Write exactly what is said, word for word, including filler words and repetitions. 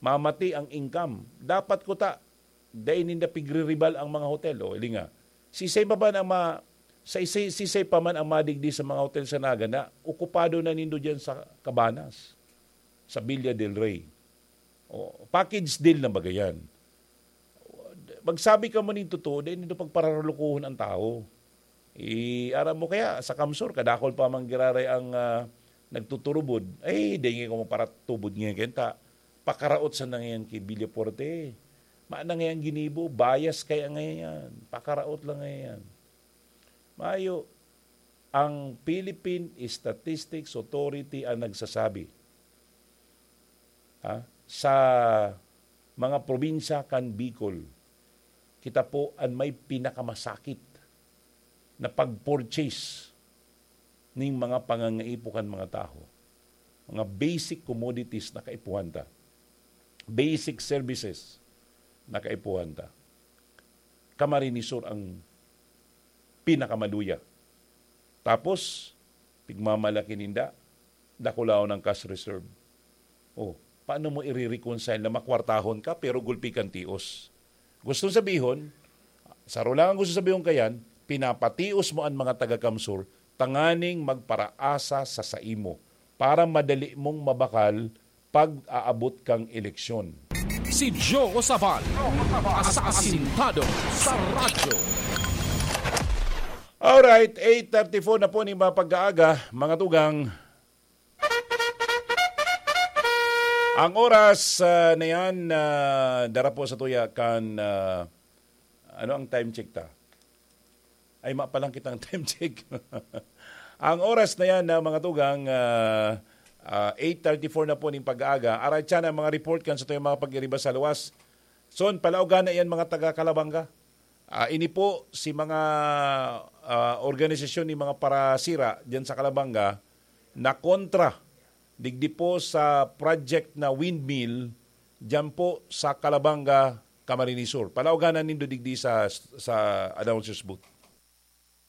mamati ang income. Dapat kuta, dai ninda pigriribal ang mga hotel. O, ili nga. Sisay pa man ang ma-, sa isi-, sisay pa man ang madigdi sa mga hotel sa Naga na okupado na nindo diyan sa Cabanas, sa Villa del Rey. O, package deal na baga yan. Magsabi ka mo nin totoo, dai nindo pagparalukuhon ang tao. I, aram mo kaya, sa Kamsur, kadakol pa man giraray ang, ah, nagtuturubod. Ay, dai nga ko maparatubod nga kenta. Pakaraot sa nangayan ki Villafuerte. Mana ngayan ginibo, bias kaya ngayan. Pakaraot lang ngayan. Mayo, ang Philippine Statistics Authority ang nagsasabi, ha, sa mga probinsya kan Bicol, kita po an may pinakamasakit na pag-purchase ning mga pangangaipo kan mga tawo. Mga basic commodities na kaipuhan ta. Basic services na kaipuhan ta. Camarines Sur ang pinakamaluya. Tapos, pigmamalaki ninda, dakulaon ang cash reserve. Oh, paano mo ire-reconcile na makwartahon ka pero gulpi kang tios? Gustong sabihon, saro lang ang gusto sabihon kayan, pinapatios mo an mga taga-Kamsur tanganing magparaasa sa saimo para madali mong mabakal pag-aabot kang eleksyon. Si Joe Sabal, asasintado sa radyo. Alright, eight thirty-four na po ning mga pag-aaga, mga tugang. Ang oras, ah, na yan, ah, dara po sa tuya kan, ah, ano ang time check ta? Ay, ma pa lang kitang time check. Ang oras na yan, ah, mga tugang, ah, ah, eight thirty-four na po ning pag-aaga. Aray tiyan ang mga report kan sa tuyang mga pag-iriba sa luwas. Son, palaogan na yan, mga taga Calabanga. Ah, ini po si mga, ah, organisasyon ni mga parasira diyan sa Calabanga na kontra digdi po sa project na windmill diyan po sa Calabanga, Camarines Sur. Palaoganan nindo digdi sa, sa announcer's booth.